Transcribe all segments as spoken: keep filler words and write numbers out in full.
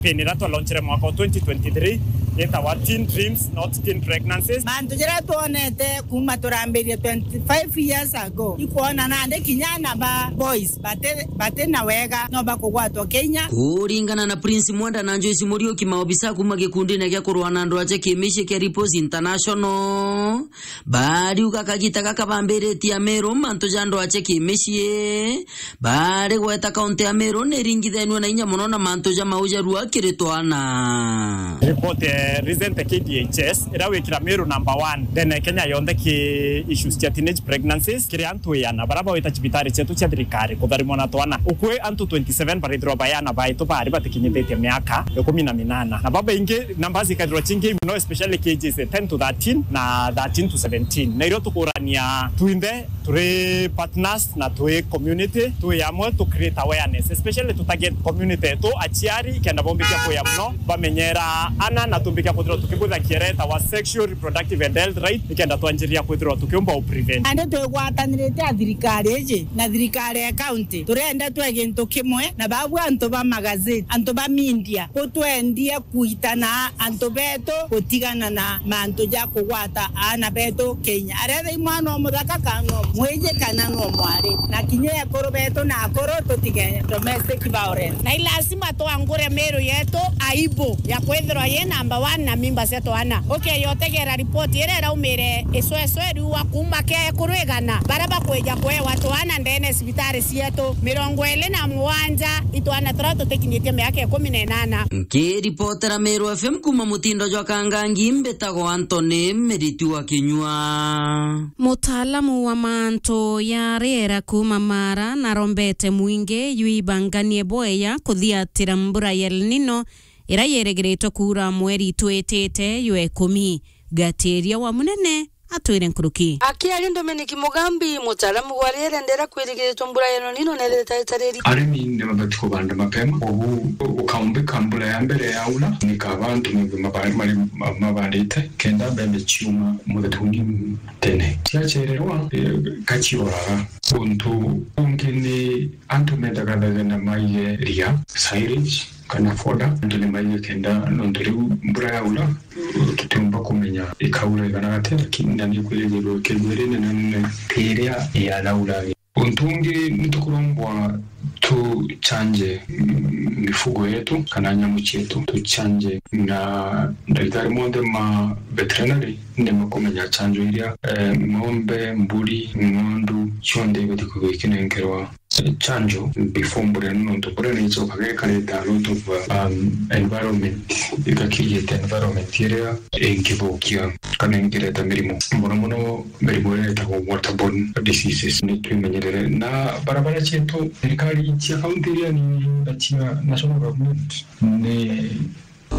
Campaign iria twalaunchere mwaka wa twenty twenty-three yetawa Teen Dreams, Not Teen Pregnancies. Mantu jaria twonete kuma turambirie twenty-five years ago, ikwona nandi kinya ana ba boys bati, bati na wega no bakugwatwa kinya. Kuringana na Prince Mwenda na Joyce Muriuki, maobisa kuma gikundine gia kurwa na andu ache kimicii kia Ripples International, bariuga kagita gaka bambiritie Amiru mantu ja andu ache kimicii. Bari gweta kaunti ya Meru ni iringithanua na inya mono na mantu ja mau jarua kiri twana. Report, eh, recent K D H S, iria wikira Meru number one ndene ya Kenya yonthe ki issues cia teenage pregnancies, kiri antu iana baria bawita cibitari cietu cia thirikari kutharimwa na twana. Ukui antu twenty-seven barithirwa bayana baitu bari batikinyithitie miaka ikumi na minana. Na babaingi numbers ikathirwa cingi mono, especially ages ten to thirteen na thirteen to seventeen. Na irio tukurania twinthe turi partners na twi community, twi amwe tu create awareness, especially tu target community yetu, aciari, kenda bombikia kuya mono, bamenyera ana na tumbikia kwithirwa tukibwitha kiere etawa sexual reproductive and health right, nikenda twanjiria kwithirwa tukiumba u prevent. Nandi twigwatanirite a thirikari iji na thirikari ya county, turenda twe gintu kimwe na babu antu ba magazine, antu ba media, gutwendie kuitana antu betu gutigana na mantu ja kugwata aana betu Kenya. Aretha i mwana o muthaka kana no mwiji kana no mwari. Na kinya ekuru betu na akuru tutige domestic violence. Na i lazima twangure Meru yetu aibu ya kwithirwa yi number one na mimba cia twana. Ukeya utegera ripoti iria iraumire icwecwe riua kuma kia ekuru igana baria bakwija kwewa twana ndene cibitari cietu, mirongo iri na mugwanja itwana turia tutikinyitie miaka ikumi na inana. Nkiripotera Meru F M kuma mutindo jwa Kangangi, mbitagwa Anthony Miriti wa Kinyua. Mutaalamu wa mantu ya riera kuma Mara narombete mwingi jwibanganie bweya kuthiatira mbura ya El Nino iria yerigiritwe kuura mweri twitite jwa ikumi. Gatiria wa Munene atwire nkuruki. Akiaria Dominic Mugambi, mutaalamu wa riera ndera kwirigiritwe mbura ya El Nino nereta itariri. Arimi ni mabati kubanda mapema, ugu ukaumbika mbura ya mbere yaura, nikaba antu mebe maba-, mari-, ma-, mabarite, kenda mbembe ciuma muthetuni tene. Ciacererwa, eh, gacioraga. Untu ungi ni antu mendaga thagenda maige ria, silage, kana foda, antu ni maige kenda nontu riu mbura yaura, tutiumba kumenya ikaura igana atia, lakini na ni kwirigirwe ikigwa iri nene nene ta iria yanaura. Untu ungi ni tukurombwa tuchanje, mm, mifugo yetu kana nyamu cietu, tuchanje na ndagitari monthe ma veterinary ni makumenya chanjo iria, eh, ng'ombe, mburi, ng'ondu cionthe ibati kwithirwa ikinenkerwa chanjo before mbura ino, nontu mbura ni icokaga ikareta a lot of, um, environment, ika create environment iria ingithukia kana ingireta mirimu, mono mono mirimu iria itagwo waterborne diseases. Ni twimenyerere, na barabara cietu, thirikari cia kaunti iria nini na cia national government ni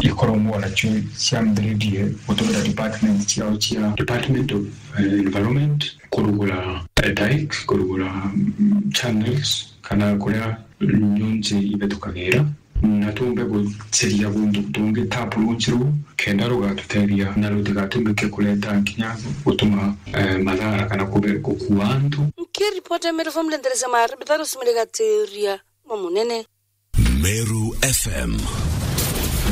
ikoragwo nacio ciambiririe gutumira department ciao cia Department of, eh, Environment, kurugura, eh, dike, kurugura, mm, channels, kana kuria nyunji ibethukagira, na tumbe guciria guntu tungi tap roads ruu, kenda rugatutethia na rutigatumike kureta nkinya gutuma, eh, mathara kana kube-, gukua antu. Nkiripota Meru F M ndendereza mara, Bitaru Simire Gatiria, Mamunene. Meru F M.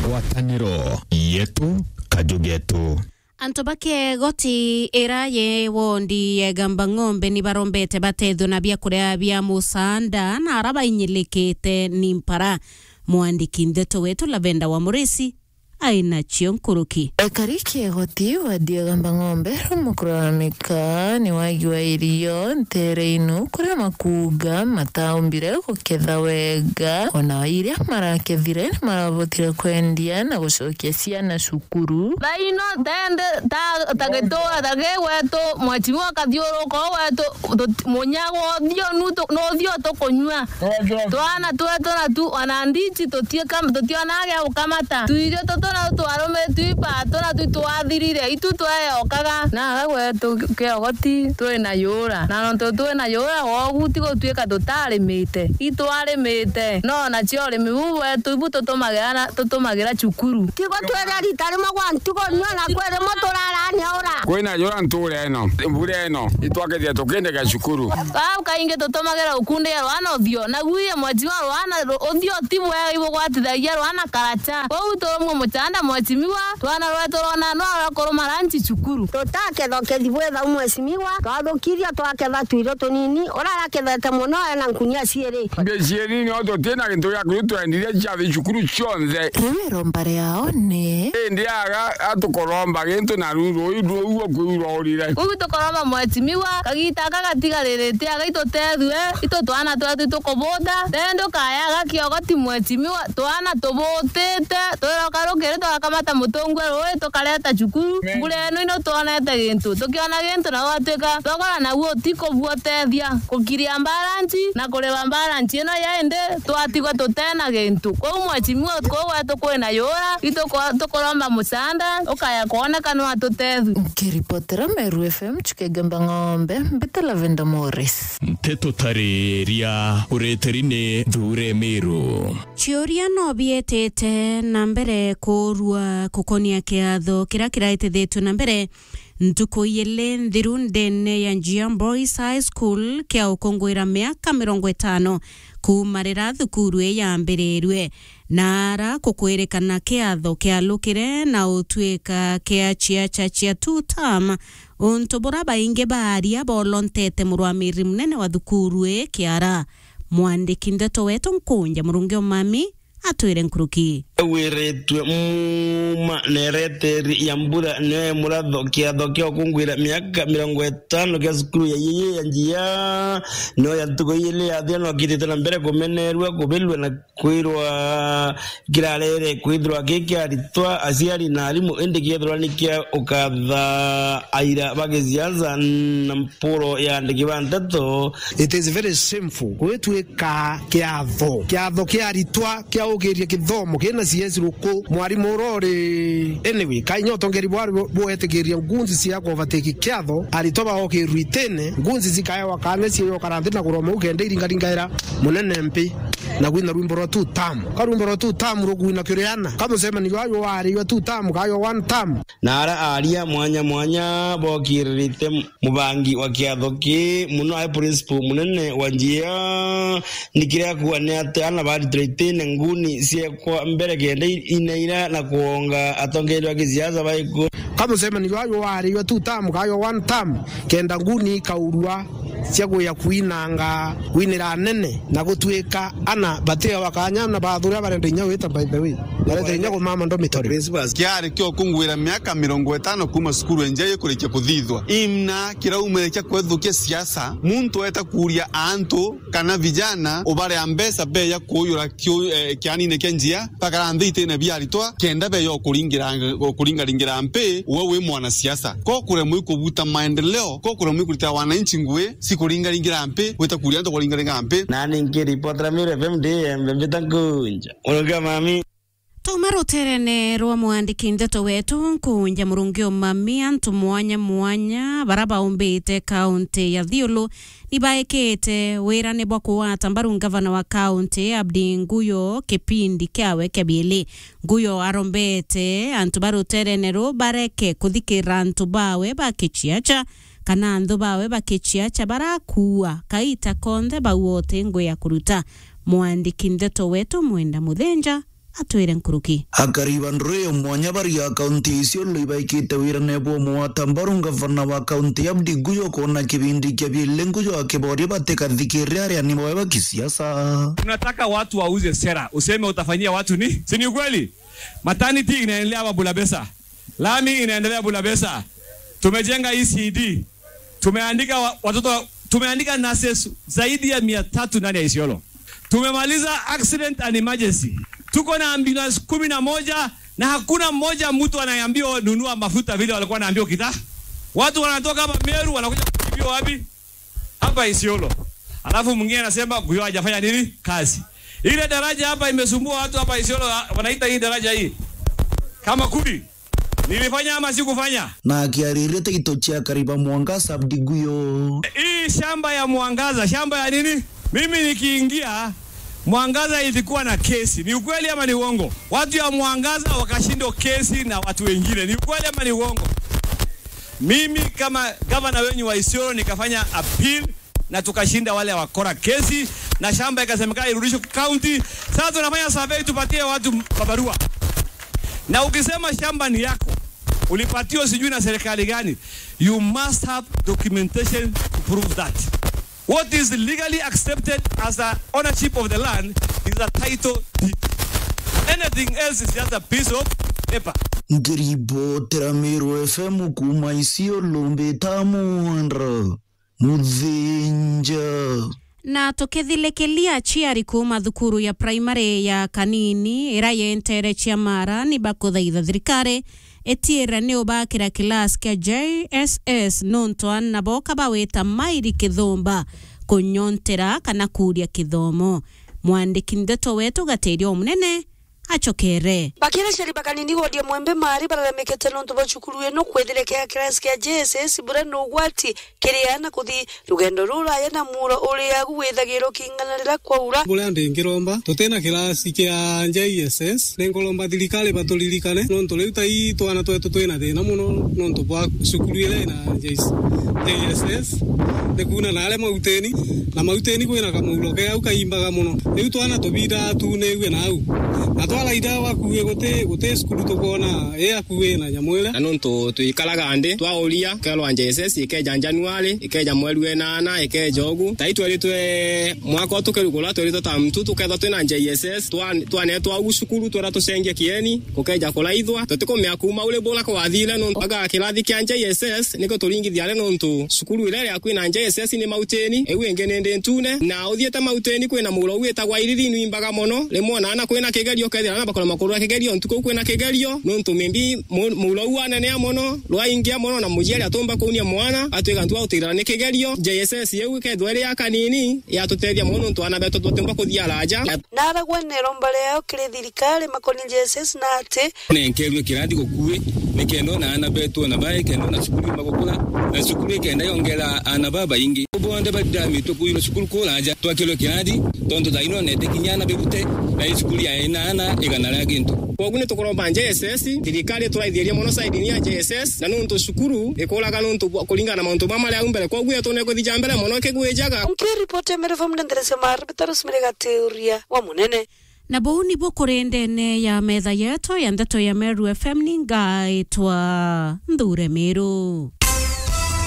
Ngwataniro yetu, kaju getu. Antu ba Kegoti ira ye wondi ya Igamba Ng'ombe ni barombete batethwe na biakuria bia musaanda na ara bainyilikite ni mpara. Mwandiki ndeto wetu Lavenda wa Murisi ainacio nkuruki. Ekari Kegoti wadi ya Igamba Ng'ombe, Mukuru wa Mika, ni wagi wa irio ntere inu, kuria makuuga mataumbire guketha wega, ona iria marakethire ni marabotire kwendia na gucokia ciana cukuru. Thaino tende ta, ta gituura ta gi gwetu, mwechimiwa akathiuruka u gwetu, tut-, munyaga uthio nu tu-, nu uthio tukunyua. Twana twetu na tu, ona ndichi tutieka, tutionaga gia gukamata. Tuirio tutu Na twarumitwe ipato na tu twathirire, itu tweyokaga. Na aga gwetu kiogoti twi na yura. Na nontu twi na yura, wogu ti gutuika tutarimite. Itwarimite. No nacio urimi buu bwetu ibu tutumagira na, tutumagira cukuru. Tigo twere rita rimwe gwa ntuku, nio na kwi rimwe turarania ura. Kwina yura ntuura ino, mbura ino, itwakethia tukindega cukuru. Bau kaingi tutumagira ukundia rwana uthio, na guye mweciwa rwana ru-, uthio ti bwega ibugwatithagia rwana karacha. Kwou turumwe muchanda mwecimiwa, twana rwetu rona no rwakuruma ranchi cukuru. Tutaketha ukethi bwethau mwecimiwa, twathukirio twaketha twiro tunini, urarakethete muno ena nkunia ciiri. Mbia ciiri nio tutina gintu gia kuru twendire ciathi cukuru cionthe. Riu iromba riao ni? Indi aga atukoromba gintu na ruru ruu ruu kwirwa urire. Kwou tukoromba mwecimiwa, kagita aka gatigaririte aga itutethue, itu twana twetu itukubuta, then ndukaya aga kiogoti mwecimiwa, twana tubutite, twiroka rukiri tugakamata mutungu rui tukareta cukuru, mbura ino ino twonete gintu, tukiona gintu na gwatuika thogora naguo ti kubua utethia, kukiria mbaranchi na kuriba mbaranchi ino ya indi twatigwa tutena gintu. Kwou mwecimiwa kuu gwetu kwina yura, itukwa-, tukuromba muchanda, ukaya kwoneka no atutethue. Nkiripotera Meru F M, Chukegamba Ng'ombe, mbita Lavender Morris. Nteto tariria ureteri ni Thure Meru. Ciuria no bietete na mbere kuurua gukonia kiatho kiria kiraitithitue na mbere ntuku ijiri nthiru ndene ya Njia Boys High School kia ukunguira miaka mirongo itano kuuma riria thukuru ii yambirirue. Na ara kukwirikana kiatho kialukire na utwika kia ciaca cia two term, untu bura baingi ba aria bolontete murwamiri munene wa thukuru ii kiara. Mwandiki ndeto wetu Nkunja Murungi Omami atwire nkuruki. Wiritue muuma na ireteri ya mbura nio ya muratho kiatho kia ukungwira miaka mirongo itano kia cukuru ya Yeye ya Njia, nio ya ntuku ijiri ya thiana kitite na mbere kumenerua, kubirua na kwirwa kirarere kwithirwa ki kia aritwa, aciari na arimu, indi kiethirwa ni kia ukatha aira ba gisiasa na mpuro ya andiki ba nteto. It is very shameful gwitwika kiatho, kiatho kia aritwa kia ukiria kithomo kina C S ruku, mwarimu uria uri. Anyway, kainya utongeri bwari bu-, buetikiria ngunzi cia kuvatiki kiatho, aritwa baokirwa itine, ngunzi cikaewa kanya cia ukara nthi na kuroma u kenda iringaringaira munene mpi. Na gwina rwimbo rwa two term. Ka rwimbo rwa two term rukwina kiri ana. Ka mucemanio ayo wariwa two term, ka yo one term. Na ara aria mwanya mwanya bokiririte mubangi wa kiatho ki muno ai principal munene wa Njia, ni kiria kuuga ni ati ana baritire itine nguni ciekwa mbere kenda i-, inaira na kuonga atongeria ba gisiasa baiku. Ka mucemanio ayo wariwa two term, ka yo one term, kenda nguni ikaurua cia gwia kwinanga, kwinira anene, na gutwika ana batio bakanya na bathuria barenda inya wita, by the way. Barenda inya kumama dormitory. Principals. Kiari kio kungwira miaka mirongo itano kuuma cukuru enja ikurikia kuthithwa. Imna kiraumire kia kwethukia siasa, muntu eta kuuria antu kana vijana ubarea mbeca beya kuuyura kiu-, eh, kianine kia Njia, bakara nthi itine bia aritwa, kenda beya ukuringira, ukuringaringira mpi, we wi mwanasiasa. Ko kuremwa ikubuta maendeleo, ko kuremwa ikurita wananchi ngui, si kuringaringira mpi, gwita kuria antu kuringaringira mpi. Nani nkiripotera Meru F M ndi Embe mbita Nkunja. Uruga mami. Tuma ruterene rwa mwandiki ndeto wetu Nkunja Murungi Omami, antu mwanya mwanya bara baumbite kaunti ya Thiulu ni baekete wirane bwa kugwata mbaru ngavana wa kaunti Abdi Nguyo kipindi kiawe kia biili. Nguyo arombete antu ba ruterene ruu bareke kuthikirira antu bawe ba kiciaca kana anthu bawe ba kiciaca barakuua kaita konthe bauote ngui ya kuruta. Mwandiki ndeto wetu Mwenda Muthenja atwire nkuruki. Akari ba nduri ya mwanya bari ya kaunti ya Isiolo ibaikite wirane bwa mugwata mbaru ngavana wa kaunti Abdi Nguyo kwona kibindi kia biili Nguyo akiboria batikathikirire areani bawe ba kisiasa. Tunataka watu wauze sera, useme utafanyia watu ni, si ni ukweli? Maternity inaendelea hapa Bulabesa. Lami inaendelea Bulabesa. Tumejenga E C D. Tumeandika wa-, watoto wa-, tumeandika nurses zaidi ya mia tatu ndani ya Isiolo. Tumemaliza accident and emergency. Tuko na ambulance kumi na moja na hakuna mmoja mtu anaambiwa nunua mafuta vile walikuwa wanaambiwa kita. Watu wanatoka hapa Meru wanakuja kutibiwa wapi? Hapa Isiolo. Alafu mwingine anasema Nguyo hajafanya nini? Kazi. Ile daraja hapa imesumbua watu hapa Isiolo, wa-, wanaita hii daraja hii. Kamakuri. Nilifanya ama sikufanya? Na akiariria Taito cia Kariba Mwangaza Abdi Guyo. Hii shamba ya Mwangaza, shamba ya nini? Mimi nikiingia, Mwangaza ilikuwa na kesi. Ni ukweli ama ni uongo? Watu ya Mwangaza wakashindwa kesi na watu wengine. Ni ukweli ama ni uongo? Mimi kama gavana wenyu wa Isiolo nikafanya appeal na tukashinda wale wakora kesi, na shamba ikasemekana irudishwe county. Sasa tunafanya survey tupatie watu mabarua. Na ukisema shamba ni yako, ulipatiwa sijui na serikali gani, you must have documentation to prove that. What is legally accepted as a ownership of the land is a title deed. Anything else is just a piece of paper. Ngiribotera Meru F M kuuma Isiolo, mbita Mwandra Muthinja. Na tukithilikilia aciari kuuma thukuru ya primary ya Kanini ira yentere Ciamara ni bakuthaitha thirikari itiire ni ubakira class kia J S S nontu ana boka bawita mairi kithumba kunyontera kana kuria kithomo. Mwandiki ndeto wetu Gatiria Omunene acokere. Bakiri aciari ba Kanini wodi ya Mwembe Mari bararemekete nontu bwa cukuru ino kwithira kia kirasi kia J S S bura ni ugwati kiri ana kuthi rugendo ruraya na muuro uri agu withagirwo king'ana rira kwaura. Buria ndingiromba, tutina kirasi kia J S S, ninkuromba thirikari baturirikane, nontu riu ta ii twana twetu twina thina mono nontu bwa cukuru iria ina J S, J S S, ni kuuna na aria Mautini, na Mautini kwina kamuuro ke au kaimbaga mono. Riu twana tubindaa tuniwe na au. Na twaraitha akui guti, guti cukuru tukwona i akui na nyamu iria. Na nontu twikaraga nthi, twauria, kerwa J S S ikeja January, ikeja mweri wa inana, ikeja ugu. Tai tweritwe mwaka utukirugura, tweritwe term two, tukethwa twina J S S, twa-, twanetwa ugu cukuru, twera tucengie kieni, gukeja kuraithwa. Tutikumea kuuma uri bura kwathire nontu aga kirathi kia J S S, niko turingithia ari nontu cukuru iria iria kwina J S S ni Mautini, iu ingi ni ndi ntune. Na uthiite Mautini kwina muuro witagwa Iriri nwimbaga mono. Rimwe ona ana kwina kigerio, kethira ana bakora makuru ya kigerio, ntuku kwina kigerio, nontu maybe mu-, muuro u wanenea mono, rwaingia mono, na muciari atumba kuunia mwana, atwika ntu agutigirana ni kigerio. J S S iu ikethwa iri ya Kanini, yatutethia mono nontu ana betu tutiumba kuthia araja. Na aragwa neromba riao kiri thirikari makoni J S S na ati nenkerwe kirathi gukui, nikenda ona ana betu ona bae, kenda ona cukuru imba gukura, na cukuru ikenda yongera ana babaingi. Bonthe bathithamitwe kuirwa cukuru kuraja, twakirwe kirathi, tontu thaino nete kinya ana birute, na i cukuru ya ina ana igana ria gintu. Kwogu ni tukuromba J S S, thirikari ituraithirie mono side-ini ya J S S, na nontu cukuru ikuraga nontu bwa kuringana na mauntu mama maria au mbere. Kwogu yetu ni kuthija mbere mono ikigwijaga. Nkiripoti ya Meru F M ndenderesia mara bitaro simire gatiuria wa munene. Na buu nibu kuri ndene ya metha yetu ya ndeto ya Meru F M, ni ngaitwa Nthure Miru.